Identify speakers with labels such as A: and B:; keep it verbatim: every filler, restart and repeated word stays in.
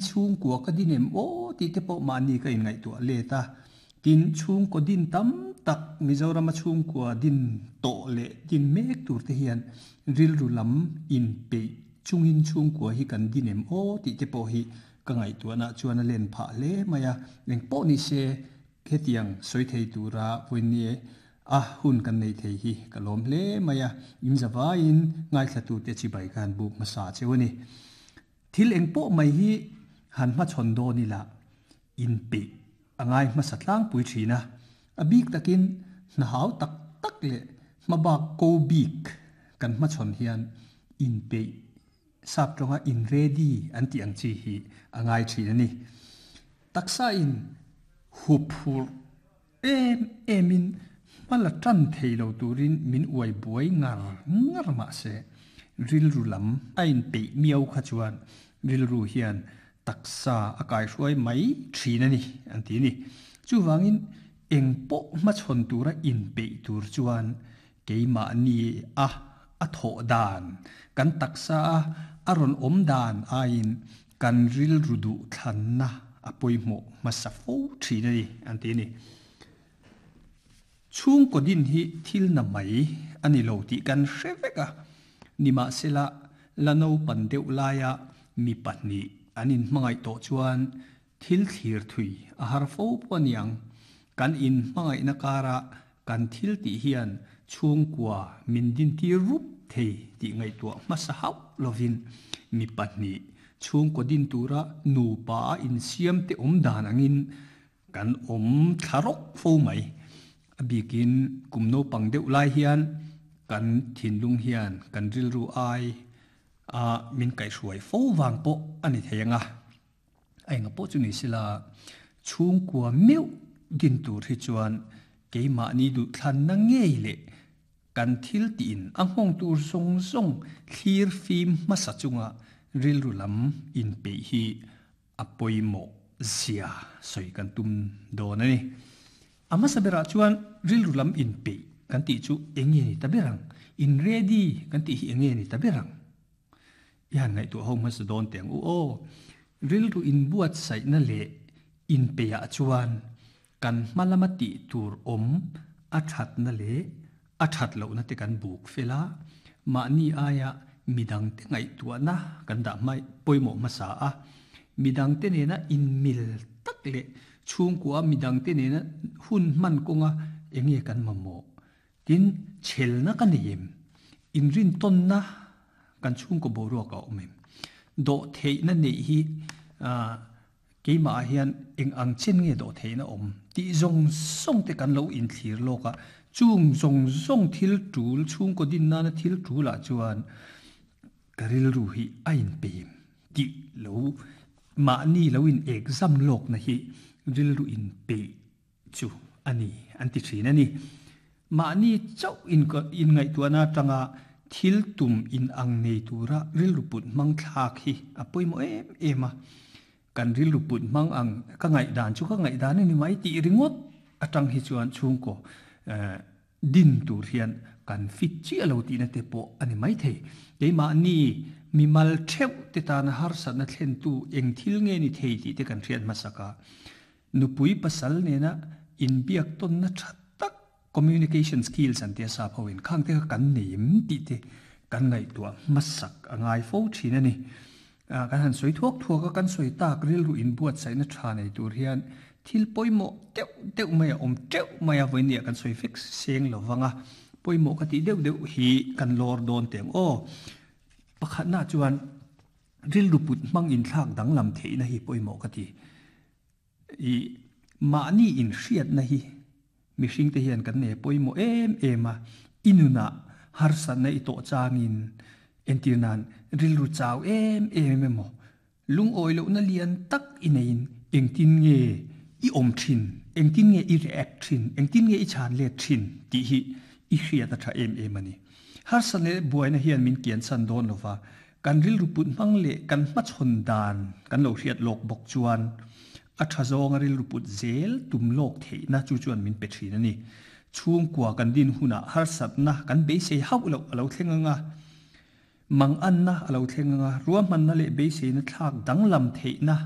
A: Chhungkua ka din em aw tih te pawh mahni ka inngaihtuah let a, tin chhungkaw din tam tak Mizorama chhungkua din tawh leh din mek tur te hian rilru lam inpeih chungin chhungkua hi kan din em aw tih te pawh hi ka ngaihtuahna chuan a len phah hle mai a, engpawh ni se hetiang sawi thei tura vawinia a hun kan nei thei hi ka lawm hle mai a, inzavaiin ngaithlatute chibai khan buk hmasa cheu a ni. Thil engpawh mai hi han hmachhawn dawn ila inpeih a ngai hmasa tlangpui thin a, a bik takin hna hau tak tak leh hmabak ko bik kan hmachhawn hian inpeih sap tawnga in ready an tih ang chi hi a ngai thin a ni. Taksa in huphur em emin hmala tan thei lo turin min uai buai ngar ngar mah se rilru lam a inpeih miau kha chuan rilru hian taksa a kai hruai mai thin a ni an ti ni. Chuwangin engpawh hmachhawn tura inpeih tur chuan keimahni a a thawh dan kan taksa a a rawn awm dan aiin kan rilru duh thlanna a pawimawh hmasa fo thin a ni an ti ni. Chhungkaw din hi thil na mai a ni lo tih kan hre vek a, nimahsela la naupang deuh laia mi pahnih an inhmangaih tawh chuan thil thlir thui a har fo pawh a niang. Kan inhmangaihna kara kan thil tih hian chhungkua min din tir rup thei tih ngaihtuah hmasa hauh lovin mi pahnih chhungkaw din tura nupa a insiam te awm dan angin kan awm thla rawk fo mai. A bikin kum naupang deuh lai hian kan thinlung hian kan rilru ai a min kaihhruai fo vang pawh a ni thei anga. A enga pawh chu ni sela chhungkua meuh din tur hi chuan keimahni duh thlanna ngei leh kan thil tiin a nghawng tur zawng zawng thlir fim hmasa chunga rilru lam inpeih hi a pawimawh zia sawi kan tum dawn a ni. A hmasa berah chuan rilru lam inpeih kan tih chu eng nge ni ta ber ang? In ready kan tih hi eng nge ni ta ber ang? I han ngaihtuah ho hmasa dawn teh ang u aw. Rilru inbuatsaihna leh inpeihah chuan kan hma lama tih tur awm a thatna leh a that lohna te kan buk fel a, mahni aia midangte ngaihtuahna kan dah hmai pawimawh hmasa a, midangte nena inmil tak leh chhungkua midangte nena hun hman kawnga eng nge kan mamawh tin chhelna ka nei em? Inrin tawnna kan chhungkaw boruak a awm em? Dawh theihna neih hi keimah ah hian eng ang chen nge dawh theihna awm tih zawng zawng te kan lo inthlir lawk a, chung zawng zawng thil tul chhungkaw din nana thil tul ah chuan ka rilru hi a inpeih em tih lo mahni lo in exam lawk na hi rilru inpeih chu a ni an ti thin a ni. Mahni chauh in ngaihtuahna atanga thil tum in ang nei tura rilru put hmang thlak hi a pawimawh em em a. Kan rilru put hmang ang ka ngaihdan chu ka ngaihdan a ni mai tih ringawt atang hi chuan chhungkaw din tur hian kan fit chiah lo tihna te pawh a ni mai thei. Keimahni mimal theuh te tana harsatna thlentu eng thil nge ni thei tih te kan hriat hmasak a. Nupui pasal nena inbiak tawnna tha tak communication skills an tia sap hoin khang te kha kan nei em tih te kan ngaihtuah hmasak a ngai fo thin a ni. Kan han sawi thuak thuak a, kan sawi tak rilru inbuatsaihna tha nei tur hian thil pawimawh deuh deuh mai a awm teuh mai a, vawinia kan sawi fek seng lovang a, pawimawh ka tih deuh deuh hi kan lawr dawn teh ang aw. Pakhatna chuan rilru put hmang inthlak danglam theihna hi pawimawh ka ti. I mahni inhriatna hi mihring te hian kan nei pawimawh em em a, i nunah harsatna i tawh changin entir nan rilru chau em em emaw lungawi lohna lian tak i neiin engtin nge i awm thin, engtin nge i react thin, engtin nge i chhan let thin tih hi i hriat a tha em em a ni. Harsatna leh buaina hian min kian chan dawn lova, kan rilru put hmang leh kan hmachhawn dan kan lo hriat lawk bawk chuan a tha zawnga rilru put zel tum lawk theihna chu chuan min pe thin a ni. Chhungkua kan din hunah harsatna kan beisei hauh loh a lo thleng anga, Mang anna a lo thleng anga, ruahmanna leh beiseina thlak danglam theihna